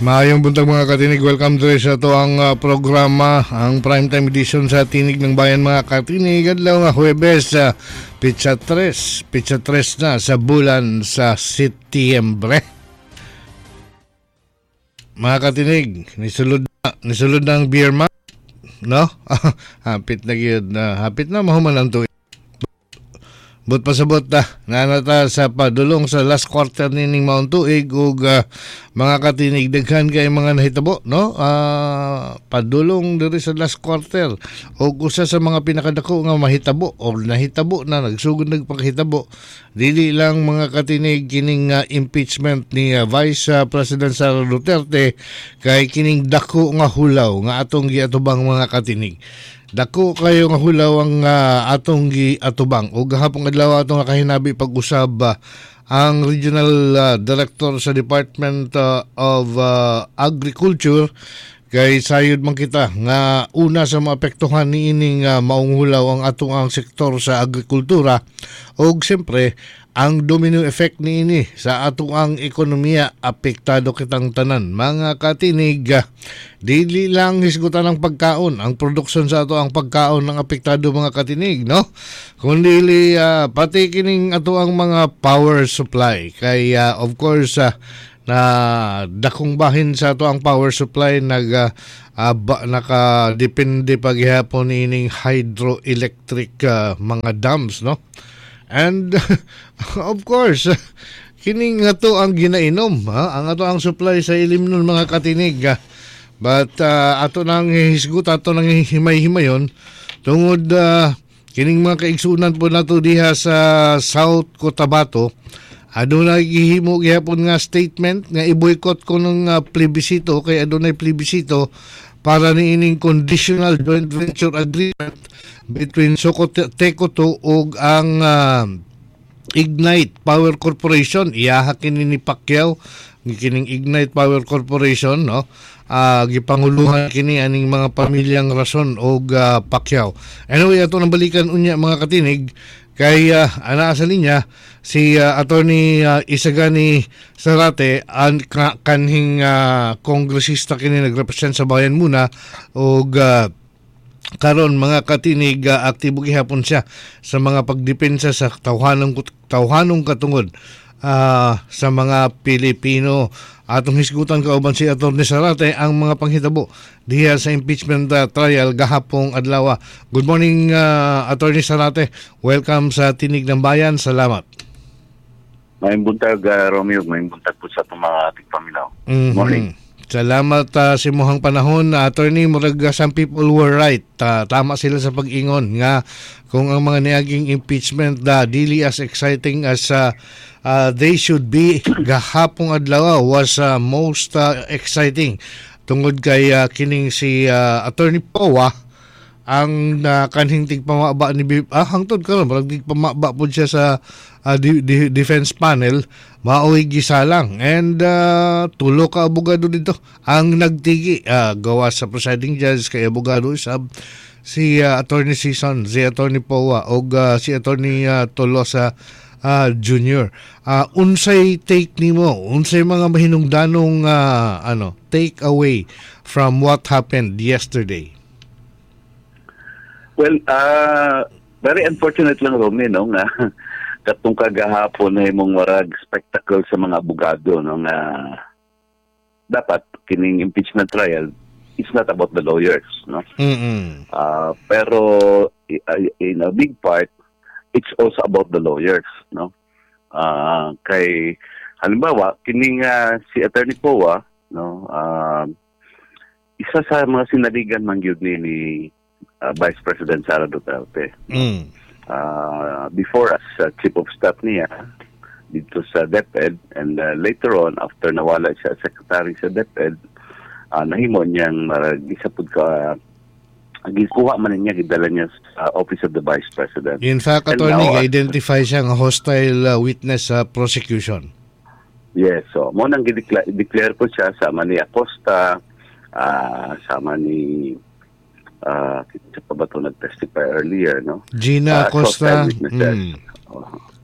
Maayong buntag, mga katinig. Welcome to sa ato ang programa, ang primetime edition sa Tinig ng Bayan, mga katinig. Adlaw nga Huwebes, pitsa 3, pitsa 3 na sa bulan sa Setyembre. Mga katinig, nisulod na ang ber month, no? Hapit na gyud na, hapit na mahuman ang tuig. But pasabot ta, nanata sa padulong sa last quarter nining maong tuig ug mga katinig, daghan kay mga nahitabo, no? Padulong diri sa last quarter ug usa sa mga pinakadako nga mahitabo o nahitabo na, nagsugod nagpakahitabo, dili lang, mga katinig, kining impeachment ni Vice President Sara Duterte, kay kining dako nga hulaw nga atong giatubang, mga katinig. Dako kayo nga hulaw ang atong giatubang ug gahapon adlaw atong nakahinabi pag-usab ang Regional Director sa Department of Agriculture, kay sayod man kita nga una sa maapektuhan niining maong hulaw ang atong ang sektor sa agrikultura ug siyempre ang domino effect niini sa atong ang ekonomiya, apektado kitang tanan, mga katinig. Dili lang hisgutan ang pagkaon, ang produksyon sa ato ang pagkaon ang apektado, mga katinig, no, kundi pati kining ato ang mga power supply, kay of course na dakong bahin sa ato ang power supply nag ba, nakadepende paghihapon ining hydroelectric mga dams, no? And of course, kining ato ang ginainom, ha? Ang ato ang supply sa ilimnon, mga katinig, ha? But ato nang hisgut, ato nang himay-himayon tungod kining mga kaigsunan po nato diha sa South Cotabato, adunay gihimo gihapon nga statement nga i-boycott ko ng plebisito, kay adunay plebisito para niining conditional joint venture agreement between Socoteco 2 ug ang Ignite Power Corporation. Iyaha kini ni Pacquiao kining Ignite Power Corporation, no? Gipanguluhan kini aning mga pamilyang Razon og Pacquiao. Anyway, ato nang balikan unya, mga katinig, kay anaa sa linya si Attorney Isagani Zarate, ang kanhing kongresista kini nagrepresent sa Bayan Muna og karon, mga katinig, aktibo gihapon siya sa mga pagdepensa sa tawhanong tawhanong katungod sa mga Pilipino. Atong hisgutan kauban si Attorney Zarate ang mga panghitabo diha sa impeachment trial gahapong adlaw. Good morning, Attorney Zarate. Welcome sa Tinig ng Bayan. Salamat. Maayong buntag, Romeo. Maayong buntag po sa atong mga tigpaminaw. Morning. Salamat sa imuhang panahon, Attorney. Murag some people were right. Tama sila sa pag-ingon nga kung ang mga niaging impeachment da dili as exciting as they should be, gahapong adlaw was most exciting tungod kay kining si Attorney Poa ang kanhing tigpamaba ni hangtod karon murag tigpamaba pud siya sa defense panel, maoy gisalang and tulo ka abogado dito ang nagtigi gawa sa presiding judge, kay abogado usab si Attorney Sison, si Attorney Poa og si Attorney Tolosa Jr. Unsay take nimo, unsay mga mahinungdanong ano, take away from what happened yesterday? Well, very unfortunate lang, Romy, no, nga katong kagahapon na imong warag spectacle sa mga abogado, no, nga dapat kining impeachment trial, it's not about the lawyers, no? Pero in a big part, it's also about the lawyers, no? Kay halimbawa kining si Attorney Poa, no, isa sa mga sinaligan man gyud ni Vice President Sara Duterte. Before as chief of staff niya dito sa DepEd and later on, after nawala siya as secretary sa DepEd, nahimo niyang marag isa pud ka gikuha man niya, gidala niya sa Office of the Vice President. In fact, And attorney, now, identify siya nga hostile witness sa prosecution. Yes, so mo nang gideclare declare po siya sama ni Acosta, sama ni kita pa ba ito nag-testify earlier, no? Gina Acosta. Hostile witnesses.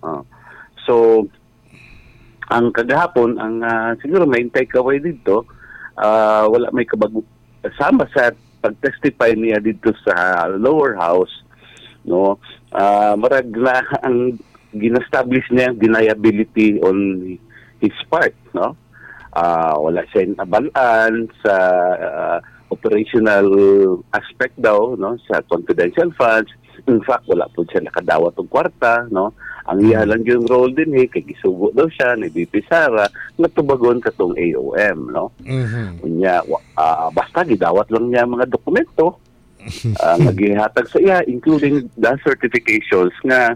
Oh. So, ang kagahapon, ang siguro may takeaway dito, Wala may kabag sama sa pag-testify niya dito sa lower house, no? Marag na ang gina-establish niya ang deniability on his part, no? Wala siya nabalaan sa operational aspect daw, no, sa confidential funds. In fact, wala po siya nakadawat og kwarta, no? Ang iya lang yung role din eh, kay gisugo daw siya ni VP Sara nga tubagon katong AOM, no? Unya, basta gidawat lang niya ang mga dokumento nga gihatag sa iya, including the certifications nga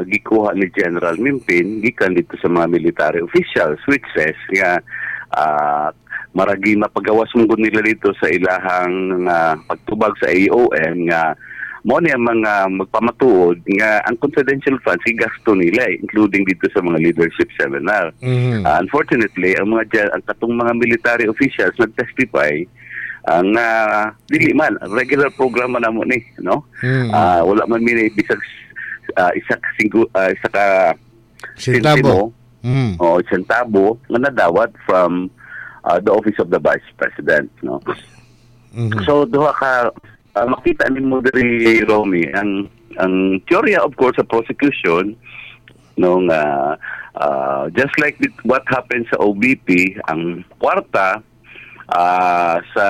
gikuha ni General Mimpin gikan dito sa mga military officials, which says nga maragi mapagawas mong nila dito sa ilahang pagtubag sa AOM nga mo ni ang mga magpamatuod nga ang confidential funds gigasto nila eh, including dito sa mga leadership seminar. Unfortunately, ang katong mga military officials nagtestify ang dili man regular program man namo ni, no? Wala man mi bisag isa ka Sentabo. O sentabo nga nadawat from the Office of the Vice President, no? So duha ka makita nimo diri, Romy, ang teorya, of course, sa prosecution, no, nga just like what happened sa OVP, ang kwarta sa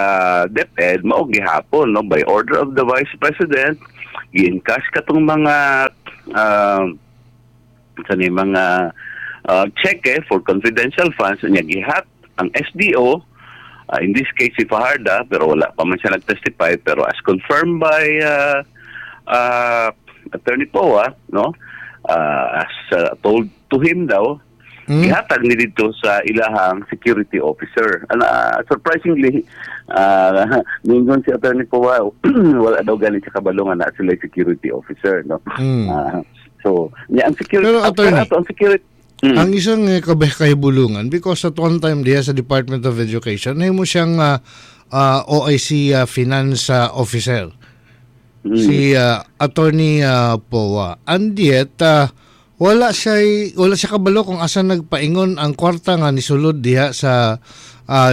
DepEd mao gihapon, no, by order of the Vice President gi-encash katong mga sa ni mga cheque for confidential funds niya, gihat ang SDO, in this case si Fajarda, pero wala pa man siya nag-testify, pero as confirmed by Attorney Poa, no, as told to him daw, gihatag ni dito sa ilahang security officer. Ana, surprisingly, ningon si Attorney Poa, wala daw ganit siya kabalo nga na sila security officer, no? So, niya ang security Pero, attorney, ato ang security Ang isang kahibulungan, because at one time diha sa Department of Education nahimo siyang OIC finance officer. Si Attorney Poa. And yet wala siya kabalo kung asa nagpaingon ang kwarta nga nisulod diha sa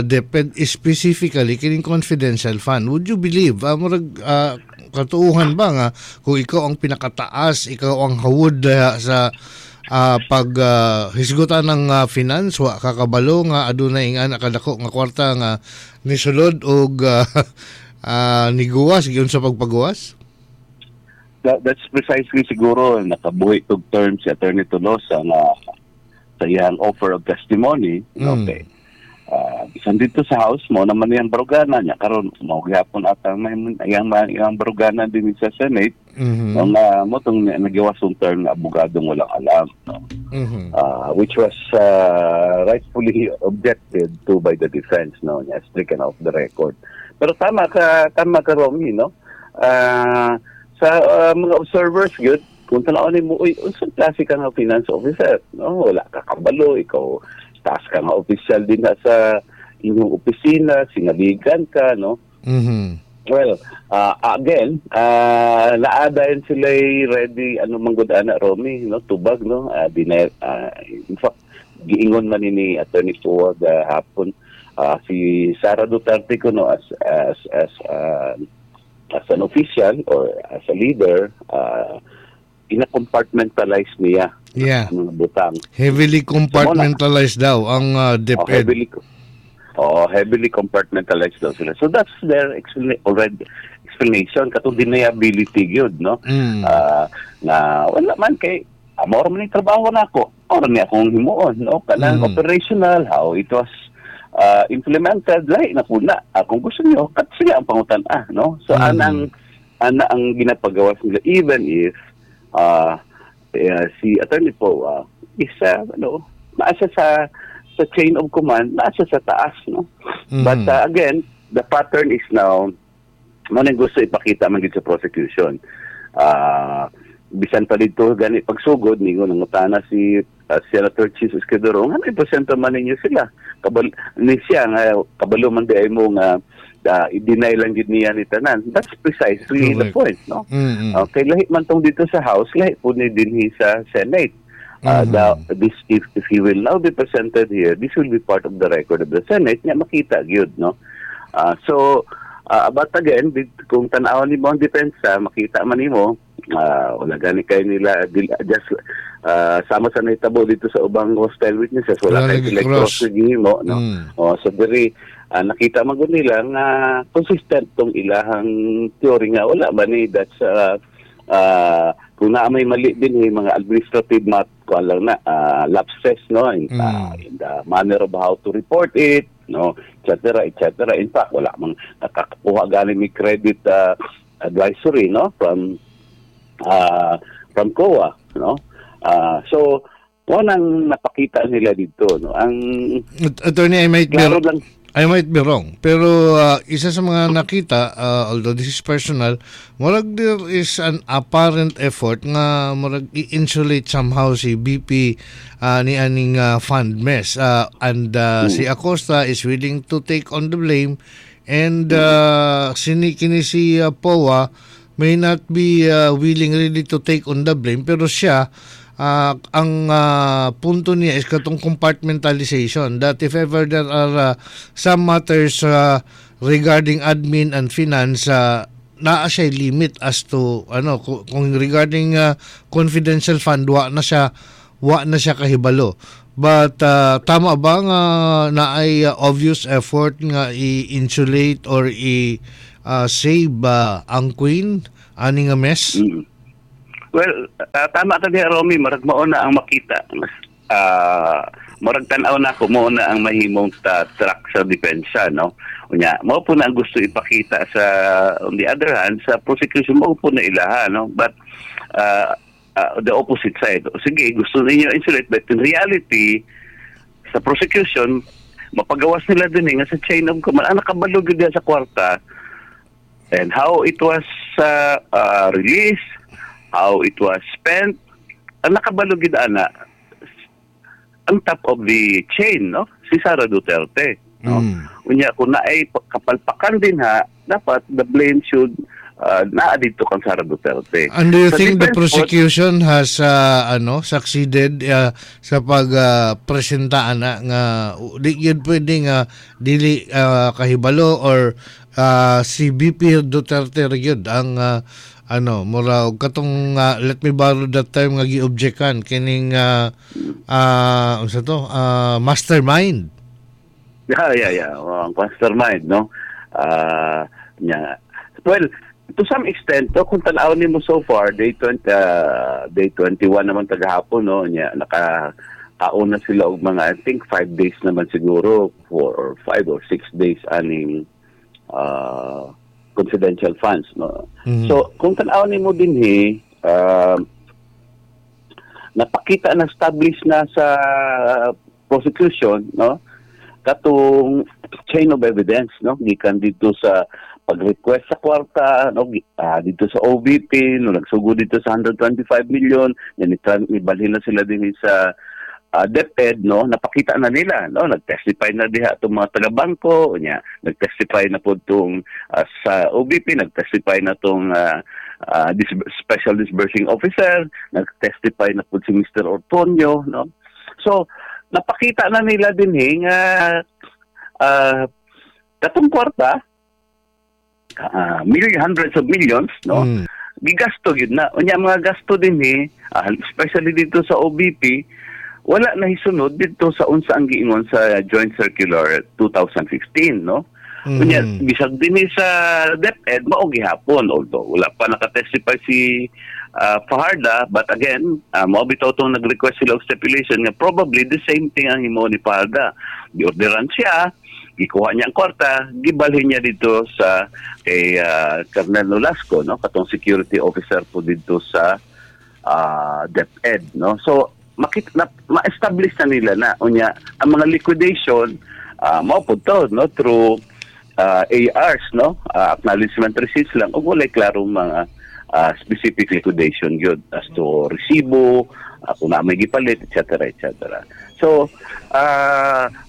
DepEd, specifically kining confidential fund. Would you believe, murag katuuhan ba nga kung ikaw ang pinakataas, ikaw ang hawod diha sa pag hisgutan ng finance, wa kakabalo nga adunay ingana kadako nga kwarta nga nisulod og niguwas giun sa pagpagawas? That's precisely siguro nakabuhi og term si Attorney Tolosa nga sa iyang offer of testimony. Okay. Bisan dito sa house mo naman iyang barugana niya karon, mao gihapon ata may iyang barugana din sa Senate, no, nga mo tong nagawas ang term nga abogadong walang alam, no? Which was rightfully objected to by the defense, no, niya stricken off the record. Pero tama ka, Romy, no? Sa mga observers gyud, kung tan-awon nimo, uy, unsang klase ka nga finance officer, no? Wala ka kabalo, ikaw taas ka nga official din na sa inyong opisina, sinaligan ka, no? Well, again, naadayon sila ready, ano man gud ana, Romy, no, tubag, no? In fact, giingon man ni Attorney Poa hapon, si Sara Duterte kuno as an official or as a leader, ina-compartmentalize niya ang mga butang. Heavily compartmentalized daw ang Oh, DepEd. Heavily compartmentalized daw sila. So that's their already explanation katong deniability gyud, no? Na wala man kay amor man ni trabaho nako. Ora ni akong himuon, no? Kanang operational, how it was implemented, lahi na puna. Kung gusto niyo, kat sige ang pangutan ah, no? So ana ang ginapagawas nila even if si Attorney Poa is ano, naa siya sa chain of command, naa siya sa taas, no? But again, the pattern is now mo nang gusto ipakita man gid sa prosecution. Bisan pa dito gani pagsugod ningon nangutana si Senator Chiz Escudero, nga ipresento man ninyo sila, kabal ni siya nga kabalo man di ay mo nga i-deny lang gid niya ni tanan. That's precisely the point, no? Okay, lahi man tong dito sa House, lahi po ni dinhi sa Senate. This if he will now be presented here, this will be part of the record of the Senate nga makita gyud, no? So, but again, kung tan-awon nimo ang depensa, makita man nimo wala gani kay nila just sama sa nahitabo dito sa ubang hostile witnesses, wala Wala kay lagi sila cross. cross gihimo, no? Oh, so diri nakita man gud nila nga consistent tong ilahang theory nga wala ba ni, that's kung naa may mali din eh, mga administrative mat kuan lang na lapses, no, in the manner of how to report it, no, etc., etc. In fact, wala mang nakakakuha gani ni credit advisory, no, from COA, no? So mo nang napakita nila dito, no, ang Attorney, I might be klaro lang. I might be wrong, pero isa sa mga nakita, although this is personal, murag there is an apparent effort nga murag i-insulate somehow si VP ni aning fund mess. And si Acosta is willing to take on the blame and kini si Poa may not be willing really to take on the blame, pero siya ang punto niya is katong compartmentalization, that if ever there are some matters regarding admin and finance, naa siya limit as to ano kung regarding confidential fund, wa na siya kahibalo. But tama ba nga naay obvious effort nga i-insulate or i save ang queen ani nga mess? Well, tama ka diha, Romy, marag mao na ang makita. Mas murag tan-aw na ako mao na ang mahimong track sa depensa, no? Unya, mao po na ang gusto ipakita sa, on the other hand, sa prosecution, mao po na ilaha, no? But the opposite side. Sige, gusto ninyo insulate, but in reality, sa prosecution, mapagawas nila din eh, nga sa chain of command, ang nakabalo gyud diha sa kwarta and how it was released, how it was spent, ang nakabalo gyud ana ang top of the chain, no? Si Sara Duterte, no? Unya kung naay kapalpakan din ha, dapat the blame should naa dito kang Sara Duterte. And do you Sa think the defense po- prosecution has ano, succeeded sa pag presenta ana nga di yun pwede nga dili kahibalo or si VP Duterte ra gyud ang ano, mura og katong let me borrow that term nga gi-objectan kining unsa to, mastermind? Yeah. Oh, ang mastermind, no? Yeah. Well, to some extent, to, kung tan-aw nimo so far, day 20, day 21 naman tagahapon, no? Nya, naka kauna sila og mga, I think, 5 days naman siguro, 4 or 5 or 6 days aning confidential funds, no? So, kung tan-aw nimo dinhi, napakita na establish na sa prosecution, no? Katong chain of evidence, no? Gikan dito sa pag-request sa kwarta, no? Dito sa OVP, no? Nagsugod dito sa 125 million, yan ibalhin na sila din sa DepEd, no? Napakita na nila, no? Nag-testify na diha itong mga taga-bangko, nya, nag-testify na po itong sa OVP, nag-testify na itong special disbursing officer, nag-testify na po si Mr. Ortonio, no? So, napakita na nila din eh, nga katong kwarta, million, hundreds of millions, no? Gigasto gyud na. Unya mga gasto din eh, especially dito sa OVP, wala na hisunod dito sa unsa ang giingon sa Joint Circular 2015, no? Unya bisag din eh sa DepEd mao gihapon, although wala pa nakatestify si Fajarda, but again, mao bitaw tong nag-request sila og stipulation nga probably the same thing ang himo ni Fajarda. Giorderan siya, gikuha niya ang kwarta, gibalhin niya dito sa kay Colonel Nolasco, no, katong security officer po dito sa DepEd, no? So makita na, ma-establish na nila na unya ang mga liquidation mao pud to, no, through ARs, no, acknowledgement receipts lang ug walay klarong mga specific liquidation gyud as to resibo, kung naa may gipalit, etc., etc. So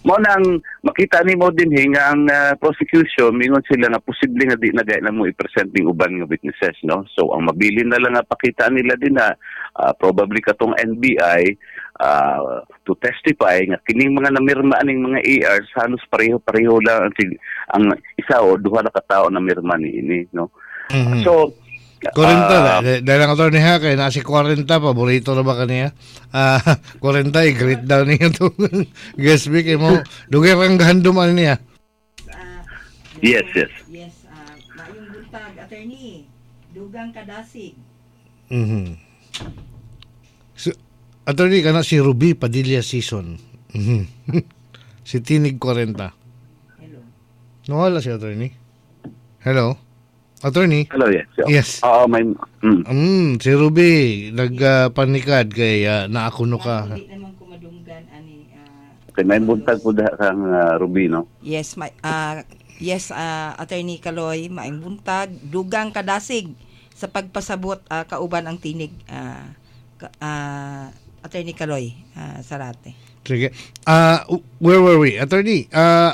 mao nang makita nimo din nga ang prosecution mingon sila nga posible nga di na gay na mo i-present ning uban nga witnesses, no? So ang mabilin na lang nga pakita nila din na probably katong NBI. to testify nga kining mga namirma aning mga ARs halos pareho-pareho lang ang isa o duha na ka tawo namirma ni ini, no? So 40 dahil ang attorney ha, kay na si 40, paborito na ba kaniya? 40, i-greet daw niya itong guest speaker mo. Dugay kang gahandom ano niya. Yes. Yes, maayong buntag, attorney. Dugang kadasig. So, attorney, kana si Ruby Padilla season. Si Tinig 40. Hello. Nawala si attorney. Hello? Attorney? Hello, yes. Yes. Oo, may Si Ruby, nagpanikad kay naakuno ka. Hindi naman ko madunggan ani. Okay, may buntag po kang Ruby, no? Yes, may yes, Attorney Kaloy, maayong buntag, dugang kadasig sa pagpasabot kauban ang tinig Attorney Kaloy Sarate. Sige. Where were we? Attorney,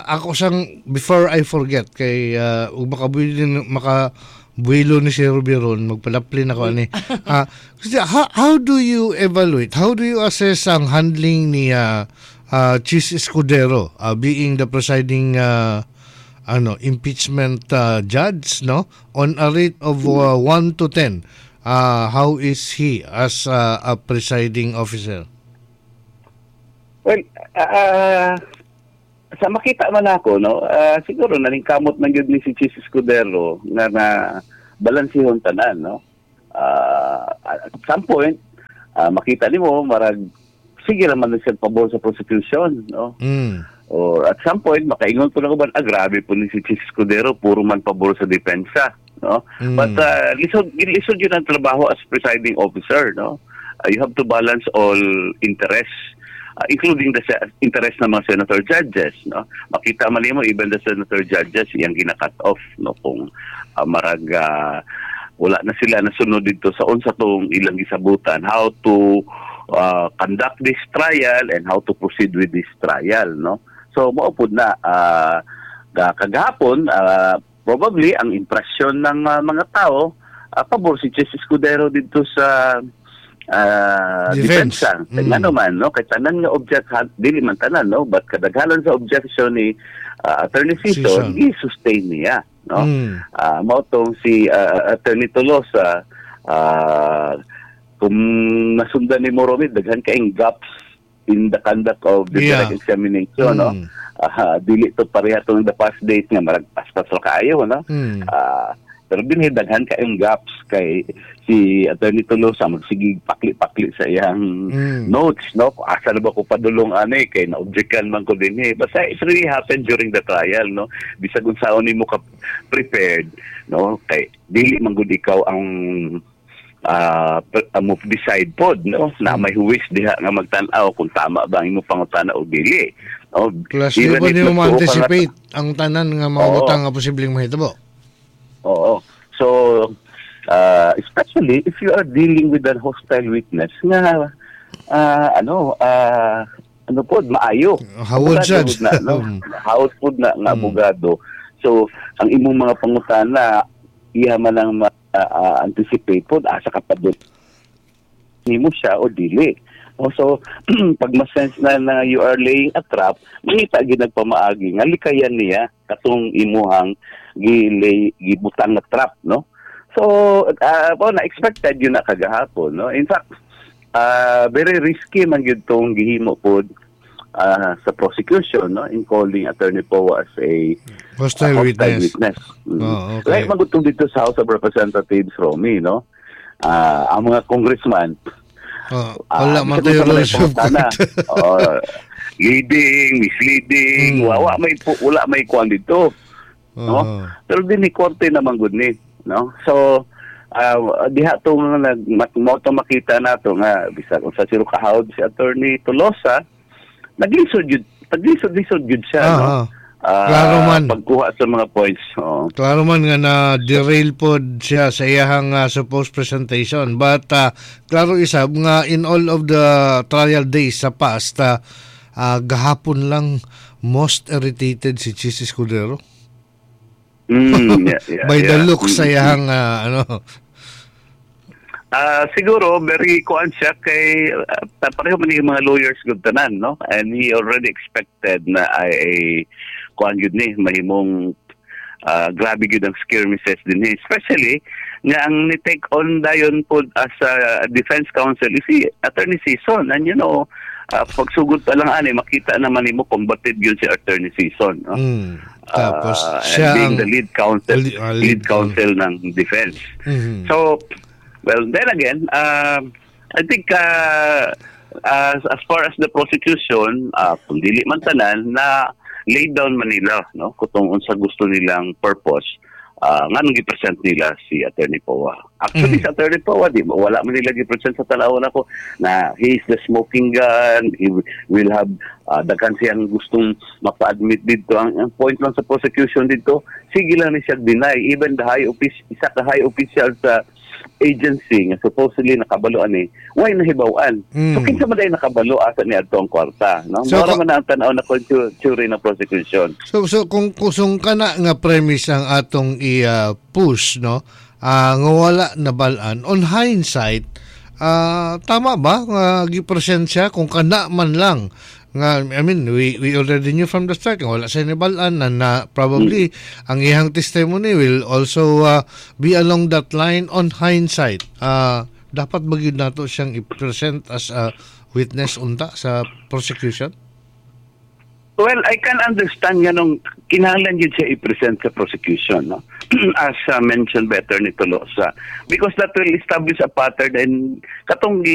ako sang before I forget kay ug makabuilo ni si Ruby ron, magpalaplin ako ani. Kasi how do you evaluate? How do you assess ang handling ni Chiz Escudero being the presiding ano impeachment judge, no? On a rate of 1 to 10, how is he as a presiding officer? Well, sa makita man ako, no, siguro naningkamot man gyud ni si Chiz Escudero nga na balansihon tanan, no. At some point, makita nimo marag sige naman na siya pabor sa prosecution, no. Or at some point makaingon po na ko ba, grabe po ni si Chiz Escudero, puro man pabor sa depensa, no. But lisod lisod yun ang trabaho as presiding officer, no. You have to balance all interests, including the interest ng mga senator judges, no. Makita man nimo even the senator judges iyang gina-cut off, no, kung marag wala na sila nasunod dito sa unsa tong ilang gisabutan how to conduct this trial and how to proceed with this trial, no. So mao pud na kagahapon probably ang impression ng mga tao pabor si Chiz Escudero dito sa Defense. Depensa. Kay ngano man, no, kay tanan nga object dili man tanan, no, but kadaghanan sa objection ni Attorney Sison. Sison gi-sustain niya, no. Mao tong si Attorney Tolosa, kung nasundan ni Moromid, daghan kaayong gaps in the conduct of the direct examination, no. Dili to pareha tong the past date nga marag paspas ra kaayo, no. Pero dinhi daghan kaayong gaps kay si Attorney Tolosa magsige pakli-pakli sa iyang notes, no, kung asa na ba ko padulong ani kay na-objectan man ko dinhi. Basta it really happened during the trial, no, bisag unsaon nimo ka prepared, no, kay dili man gud ikaw ang mo decide pod, no, na may huwes diha nga magtan-aw kung tama ba ang imong pangutana o dili, no. Plus, di Even ba if di mo nagtuo ka nga ma-anticipate ang tanan nga mga Oo. Butang nga posibleng mahitabo? Oo. So, especially if you are dealing with an hostile witness nga ano ano po maayo. Hawod Abogado sad. na, no? Hawod po na nga abogado. So, ang imong mga pangutana iya man ang ma-anticipate po asa ka pa doon nimo siya o dili. O, so, pag ma-sense na na you are laying a trap, mangita gid nagpamaagi nga likayan niya katong imuhang gilay gibutang nga trap, no? So, po na expected yun na kagahapon, no? In fact, very risky man gyud tong gihimo pod sa prosecution, no, in calling Attorney Poa as a Hostile hostile witness. Witness. Oh, okay. Like magutong dito sa House of Representatives, Romy, no? Ang mga congressman, Oh, wala man bisag tayo unsa man ay rules of pangutana. court. Oo, leading, misleading, wala may kuan dito, no? Pero din ni korte naman gud ni, no? So diha to nga nag mo to makita nato nga bisag unsa siro kahawod si Attorney Tolosa, naglisod jud, naglisod-lisod jud siya, no? Klaro man. Pagkuha sa mga points. Oo. Klaro man nga na derail pod siya sa iyahang supposed presentation. But klaro isab nga in all of the trial days sa past, gahapon lang most irritated si Chiz Escudero. By the look sa iyahang ano. Siguro very kuan siya kay pareho man yung mga lawyers gud tanan, no? And he already expected na ay, ay kuan gyud ni mahimong grabe gyud ang skirmishes din eh. Especially nga ang ni take on dayon pod as a defense counsel is si Attorney Sison, and pagsugod pa lang ani, makita naman nimo combative yun si Attorney Sison, no? Tapos siya and being the lead counsel lead counsel ng defense. So, well, then again, I think as far as the prosecution, kung dili man tanan, na laid down man nila, no, kung unsa gusto nilang purpose, nganong gi-present nila si Attorney Poa. Actually, sa Attorney Poa, di ba, wala man nila gi-present sa tan-awon ako na he is the smoking gun, he will have daghan siyang gustong mapa-admit dito. Ang point lang sa prosecution dito, sige lang ni siya deny. Even the high office, isa ka high official sa agency nga supposedly nakabalo ani, why nahibaw-an? So kinsa man day nakabalo asa ni adto ang kwarta, no? So, Mora man ang tan-aw na theory ng prosecution. So kung kusong kana nga premise ang atong i-push, no, nga wala nabal-an, on hindsight, tama ba nga gi-present siya kung kana man lang nga, I mean, we already knew from the start nga wala siya nabal-an na probably ang iyang testimony will also be along that line? On hindsight, dapat ba gyud nato siyang i-present as a witness unta sa prosecution? Well, I can understand nga nung kinahanglan yun siya i-present sa prosecution, no? As mentioned by Attorney Tolosa. Because that will establish a pattern and katong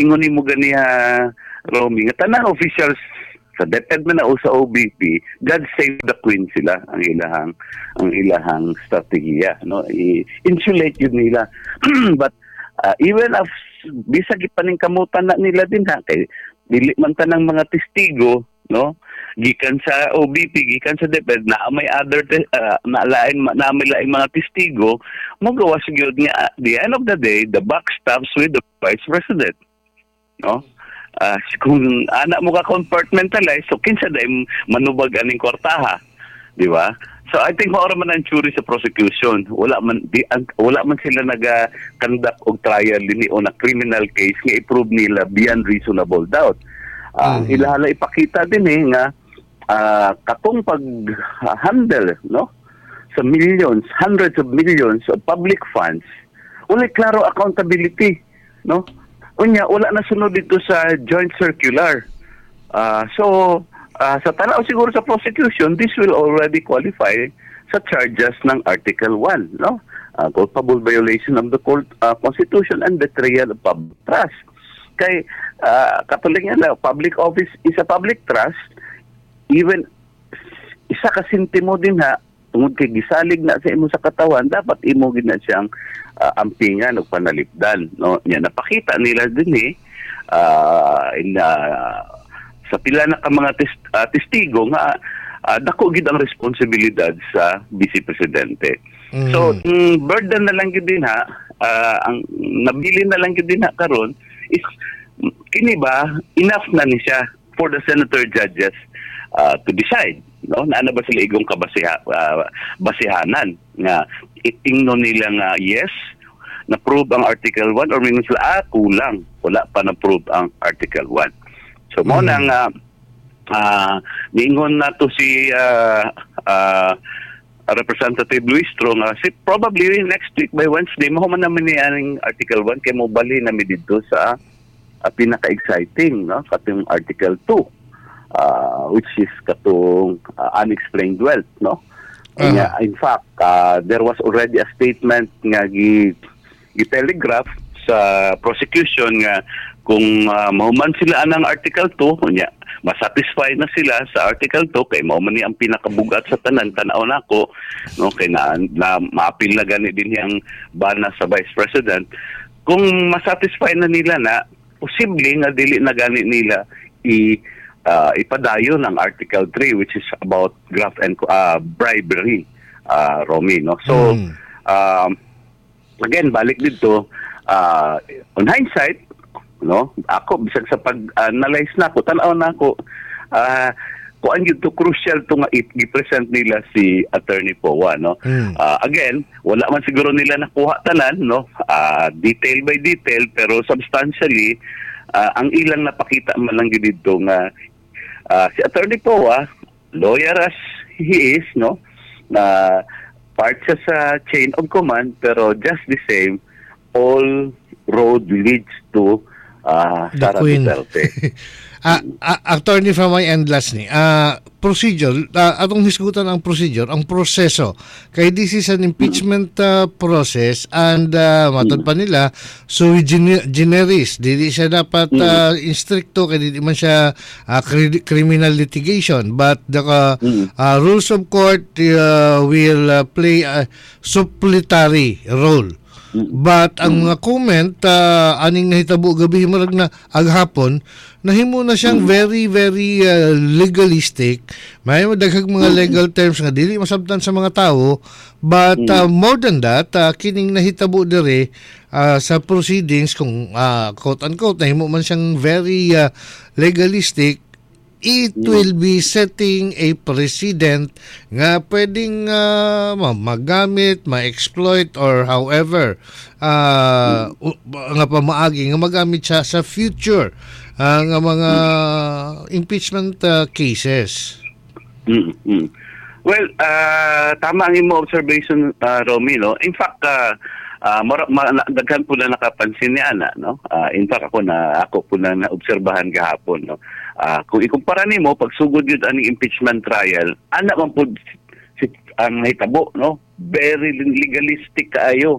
ingon nimo ganiha, Romy, nga tanang officials sa DepEd man na o sa OVP, God save the Queen sila ang ilahang strategiya, no? I-insulate yun nila. But even if bisag ipaningkamutan na nila din ha, kay dili man tanang mga testigo, no, gikan sa OVP, gikan sa DepEd, na may other na lain, na may laing mga testigo, mogawas gyud nga at the end of the day, the buck stops with the Vice President, no? Kung ana mo ka compartmentalize, so kinsa day manubag aning kwartaha, di ba? So I think mao ra man ang theory sa prosecution. Wala man sila naga conduct og trial dinhi o na criminal case nga i-prove nila beyond reasonable doubt. Ilaha lang ipakita din eh nga katong pag-handle, no, sa millions, hundreds of millions of public funds, wala klaro accountability, no? Unya, wala na sunod dito sa joint circular. So, sa tanaw siguro sa prosecution, this will already qualify sa charges ng Article 1, no? Culpable violation of the Constitution and betrayal of public trust. Kay, katulad nga na, public office is a public trust, even isa ka sentimo din ha, tungod kay gisalig na sa imo sa katawan, dapat imo gid na siyang ampingan o panalipdan, no? Nya napakita nila din eh in sa pila na ka mga testigo nga dako gid ang responsibilidad sa vice presidente. So, burden na lang gyud din ha, ang nabili na lang gyud din ha karon is kini ba enough na ni siya for the senator judges to decide, no? Naa na ba sila igong kabasiha basihanan nga itingnon nila nga yes, na prove ang Article 1, or mingon sila, ah, kulang, wala pa na prove ang Article 1. So mo na nga niingon na to si Representative Luistro nga si probably next week by Wednesday mahuman naman ni aning Article 1 kay mo bali na mi didto sa pinaka-exciting, no, katong Article 2, which is katong unexplained wealth, no? Unya, in fact, there was already a statement nga gi telegraph sa prosecution nga kung mahuman sila anang Article 2, unya masatisfy na sila sa Article 2 kay mao man ni ang pinakabugat sa tanan, tan-aw nako, no, kay na maapil na gani din ang bana sa Vice President. Kung masatisfy na nila na, posible nga dili na gani nila i ipadayon ang Article 3, which is about graft and bribery, Romy, no? So again, balik dito, on hindsight, no, ako bisag sa pag-analyze na ako, tan-aw na ako, Kuan gyud to, crucial to nga i-present nila si Attorney Poa, no? Again, wala man siguro nila nakuha tanan, no, detail by detail, pero substantially ang ilang napakita man lang gyud didto nga si Attorney Poa, lawyer as he is, no, na part siya sa chain of command, pero just the same, all road leads to The Sara Queen. Duterte. Attorney, from my end, last ni. Procedure, atong hisgutan ang procedure, ang proseso. Kay this is an impeachment process and matod pa nila sui generis. Dili siya dapat instricto kay dili man siya criminal litigation, but the rules of court will play a suppletory role. But ang mga comment aning nahitabo gabi, murag na aghapon nahimo na siyang very very legalistic. May daghang mga legal terms nga dili masabtan sa mga tao, but more than that, kining nahitabo dire sa proceedings, kung quote unquote nahimo man siyang very legalistic, it will be setting a precedent nga pwedeng magamit, ma-exploit or however nga pamaagi nga magamit siya sa future nga mga impeachment cases. Well, tama ang imo observation, Romy, no? In fact, daghan po na nakapansin ni ana, no? In fact, ako po na naobserbahan gahapon, no? Kung ikumpara nimo pagsugod yun aning impeachment trial, ana man po ang nahitabo, no? Very legalistic kaayo.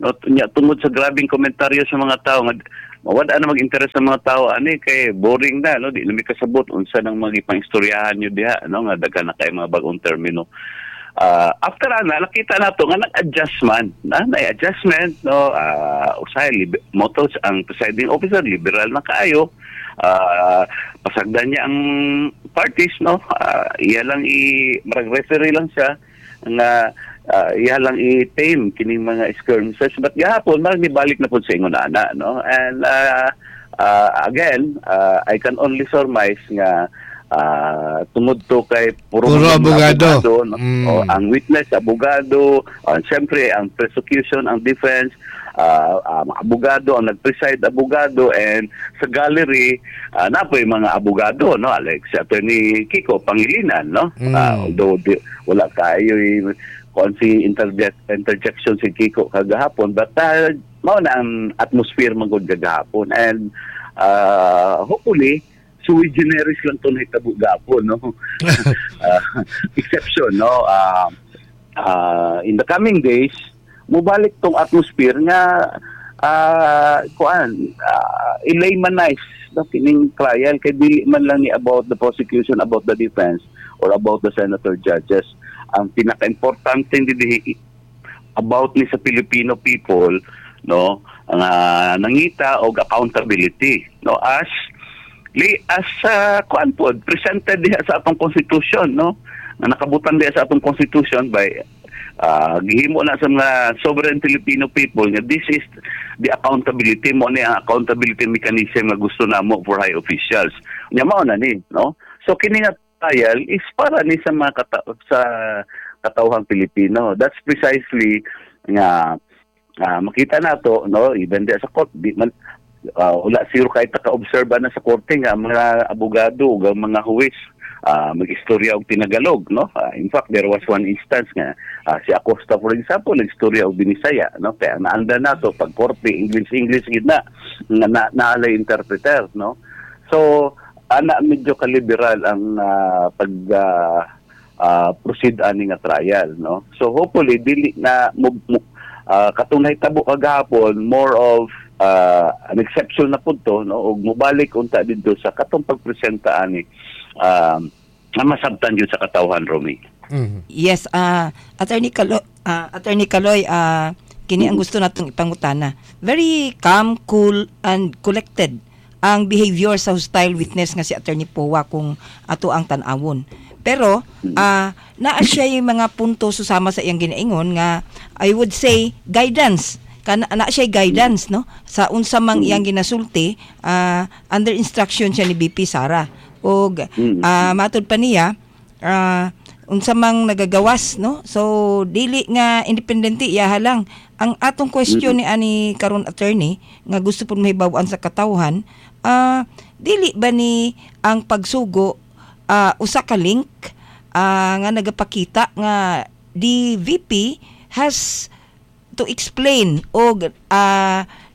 No, nya tungod sa grabing komentaryo sa mga tao nga mawala na mag-interest sa mga tao ani kay boring na, no, di na mi kasabot unsa nang mga ipang-istoryahan nyo diha, no, nga daghan na kay mga bagong termino. After ana, nakita nato nga nag-adjust man na adjustment, no. Usahay motos ang presiding officer, liberal na kaayo. Pasagdan niya ang parties, no. Iya lang i marag referee lang siya nga iya lang i-tame kining mga skirmishes, but gahapon marag nibalik na pud sa ingon ana, no. And again, I can only surmise nga tungod to kay puro Puro mga abogado. No? O, ang witness abogado, siyempre ang prosecution, ang defense, mga abogado, ang nag-preside abogado, and sa gallery napoy mga abogado, no, like si Attorney Kiko Pangilinan, no. Although wala kayo kon si interjection si Kiko kagahapon, but mao na ang atmosphere magud kagahapon and hopefully sui generis lang to nahitabo gahapon, no. Exception, no. In the coming days mubalik tong atmosphere nga kuan i-laymanize, no, kining trial kay dili man lang ni about the prosecution, about the defense or about the senator judges. Ang pinaka-importante diri, about ni sa Filipino people, no, ang nangita og accountability, no, as kuan pod presented diha sa atong constitution, no, nga nakabutan diha sa atong constitution by gihimo na sa mga sovereign Filipino people nga this is the accountability mo ni ang accountability mechanism nga gusto namo for high officials. Nya mao na ni, no. So kini nga trial is para ni sa mga sa katawhang Pilipino. That's precisely nga makita nato, no, even diha sa court, di man wala siguro kahit naka-observe na sa korte nga ang mga abogado ug ang mga huwes mag-istorya og Tinagalog, no. In fact, there was one instance nga si Acosta, for example, nag-istorya og Binisaya, no, kaya naanda nato pag korte, English English gid na nga na, naalay interpreter, no. So ana medyo kaliberal ang pag proceed ani nga trial, no. So hopefully dili na katong nahitabo kagahapon, more of an exception na pud to, no, ug mobalik unta didto sa katong pagpresenta ani nga masabtan jud sa katawhan, Romy. Yes, Attorney Kaloy, kini ang gusto natong ipangutana. Very calm, cool and collected ang behavior sa hostile witness nga si Attorney Poa kung ato ang tan-awon. Pero naa siya yung mga punto susama sa iyang ginaingon nga I would say guidance kana na siya guidance, no, sa unsa mang iyang ginasulti, under instruction siya ni VP Sara. Og matud pa niya, unsa mang nagagawas, no? So dili nga independente iyaha lang. Ang atong question ni ani karon, attorney, nga gusto pud mahibaw-an sa katawhan, dili ba ni ang pagsugo usa ka link nga nagapakita nga the VP has to explain og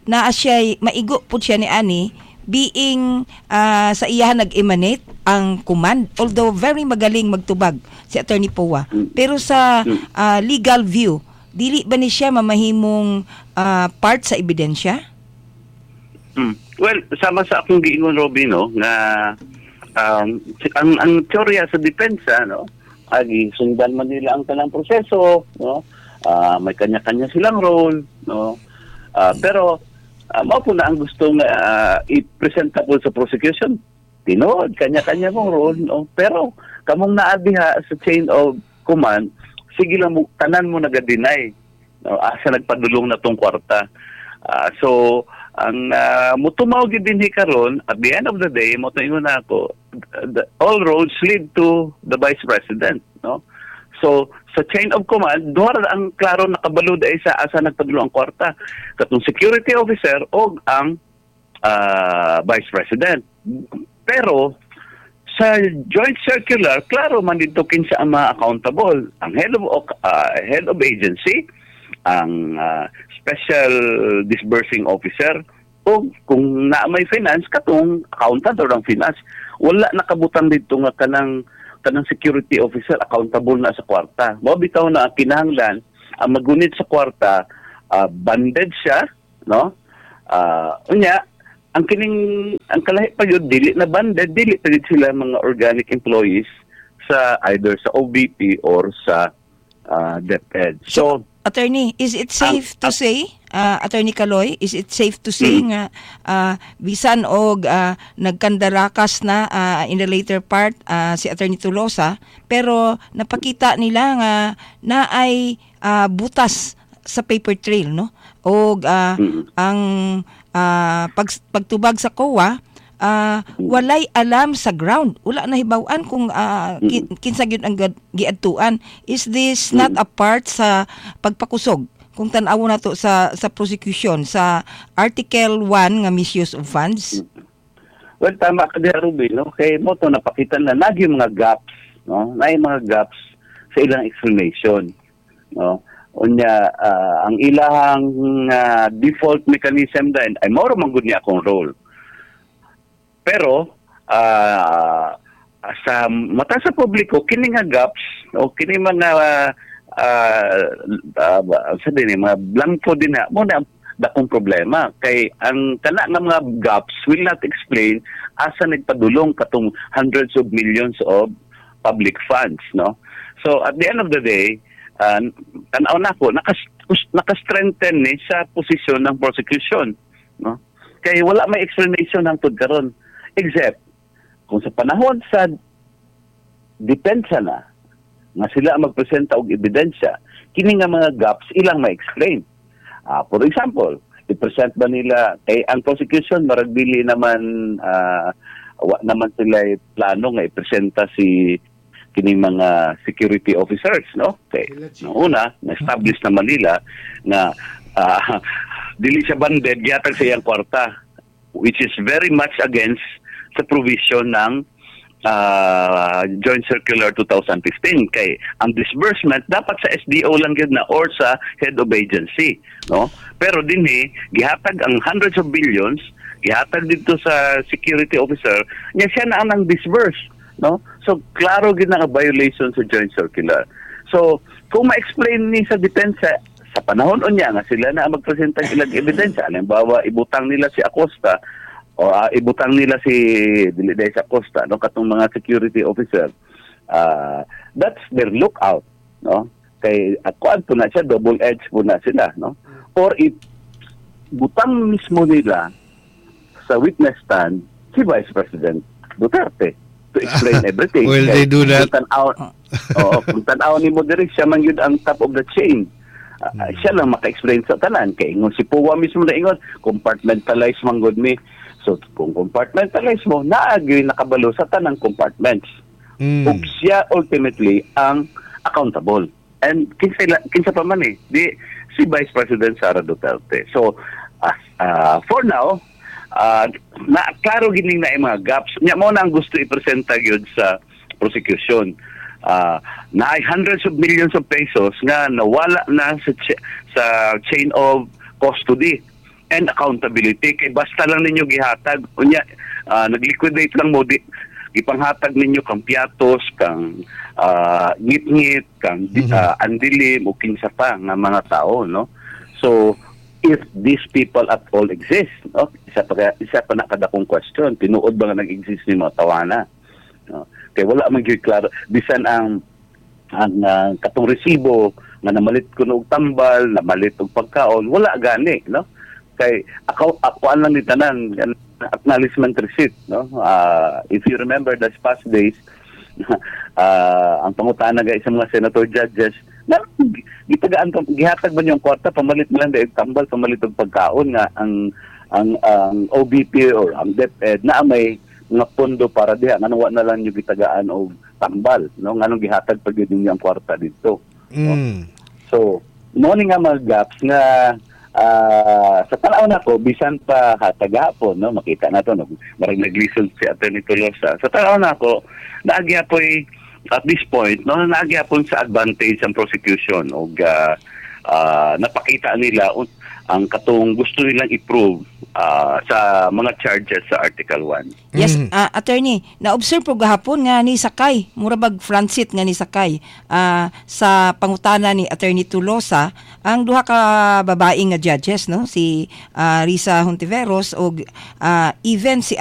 naa siya, maigo pud siya ni ani being sa iyahan nag-emanate ang command, although very magaling magtubag si Attorney Poa, pero sa legal view, dili ba ni siya mamahimong part sa ebidensya? Well, sama sa akong giingon, Robin, no, nga ang teorya sa depensa, no, agi sundan man nila ang tanang proseso, no. May kanya-kanya silang role, no. Pero mao po na ang gusto nga i-presenta po sa prosecution. Tinuod, kanya-kanya mong role, no. Pero kamong naa diha sa chain of command, sige lang mo, tanan mo naga-deny, no, asa nagpadulong na tong kwarta. So ang mutumaw gid dinhi karon, at the end of the day, mo ingon na ako, all roads lead to the Vice President, no. So sa chain of command, duha ra ang klaro nakabalo ay sa asa nagpadulong ang kwarta, katong security officer og ang Vice President. Pero sa joint circular, klaro man dito kinsa ang mga accountable: ang head of agency, ang special disbursing officer, o kung na may finance, katong accountant or ang finance. Wala nakabutang dito nga kanang security officer accountable na sa kwarta. Mao bitaw na ang kinahanglan ang magunit sa kwarta, banded siya, no. Unya ang kining ang kalahi pa yun, dili na banded, dili pa yun sila mga organic employees sa either sa OVP or sa DepEd. So Attorney, is it safe to say, Attorney Kaloy, is it safe to say nga bisan og nagkandarakas na in the later part si Attorney Tolosa, pero napakita nila nga na ay butas sa paper trail, no? Og ang pagtubag sa COA, walay alam sa ground. Wala na hibaw-an kung kinsa gyud ang giadtuan. Is this not a part sa pagpakusog kung tan-awon nato sa prosecution sa Article 1 nga misuse of funds? Well, tama ka diha, Ruby, no? Kay mo to napakita na nagi mga gaps, no? Naay mga gaps sa ilang explanation, no? Unya ang ilahang default mechanism din ay mao ra man gud niya akong role. Pero sa mata sa publiko, kini nga gaps o kini mga sa din mga blanco din na mo na dakong problema, kay ang kana nga mga gaps will not explain asa nagpadulong katong hundreds of millions of public funds, no. So at the end of the day, tan-aw nako, naka-strengthen ni sa posisyon ng prosecution, no, kay wala may explanation hangtod karon, except kung sa panahon sa depensa na nga sila ang magpresenta og ebidensya, kini nga mga gaps ilang ma-explain. For example, i-present ba nila kay ang prosecution, marag dili naman wa naman sila plano nga ipresenta si kining mga security officers, no? Kay no, una, na-establish naman nila nga dili siya banded, gihatag sa iyang kwarta, which is very much against sa provision ng Joint Circular 2015, kay ang disbursement dapat sa SDO lang gyud na or sa head of agency, no. Pero dinhi gihatag ang hundreds of billions, gihatag dito sa security officer nya, siya na ang nang disburse, no. So klaro gyud na nga violation sa joint circular. So kung ma-explain ni sa depensa sa panahon unya nga sila na ang magpresenta ng ilang ebidensya, halimbawa ibutang nila si Acosta o ibutang nila si dili dahil sa Acosta, no, katong mga security officer, that's their lookout, no, kay kuan po na siya, double edge po na sila, no. Or if butang mismo nila sa witness stand si Vice President Duterte to explain everything. Will they do that? Kung tan-aw, oo, kung tan-aw ni mo diri, siya man yun ang top of the chain. Siya lang maka-explain sa tanan. Kay ingon si Poa mismo na ingon, compartmentalize man gud mi. So kung compartmentalize mo, naa gyud nakabalo sa tanang compartments. Ug siya ultimately ang accountable. And kinsa pa man eh, di si Vice President Sara Duterte. So as for now, na klaro gining na mga gaps. Nya mo na ang gusto ipresenta gyud sa prosecution. Na hundreds of millions of pesos nga nawala na sa chain of custody and accountability kay basta lang ninyo gihatag, unya nagliquidate lang mo, di gipanghatag ninyo kang Piatos, kang ngit-ngit, kang Andilim o kinsa pa nga mga tao, no? So if these people at all exist, no, isa pa na kadakong question, tinuod ba nga nag-exist ni mga tawana, no? Kay wala man gyud klaro bisan ang katong resibo nga namalit kuno og tambal, namalit og pagkaon, wala gani, no? Kay ako akuan lang ni tanan acknowledgement receipt, no? If you remember the past days, ang pangutana gay sa mga senator judges na gitagaan gihatag ba niyong kwarta pamalit mo lang dahil tambal, pamalit og pagkaon, nga ang OVP or ang DepEd na may mga pondo para diha, nganong wa na lang niyo gitagaan og tambal, no? Nganong gihatag pa gyud ninyo ang kwarta dito? So mo ni nga mga gaps nga sa tanaw nako, bisan pa hatagapon, no, makita nato, no, marag naglisod si Attorney Tolosa. Sa tanaw nako, naa gyapoy at this point, no, naa gyapon sa advantage ang prosecution og napakita nila ang katong gusto nilang i-prove sa mga charges sa Article 1. Yes, attorney, na-observe po gahapon nga ni sakay, mura bag front seat nga ni sakay sa pangutana ni Attorney Tolosa ang duha ka babae nga judges, no, si Risa Hontiveros og even si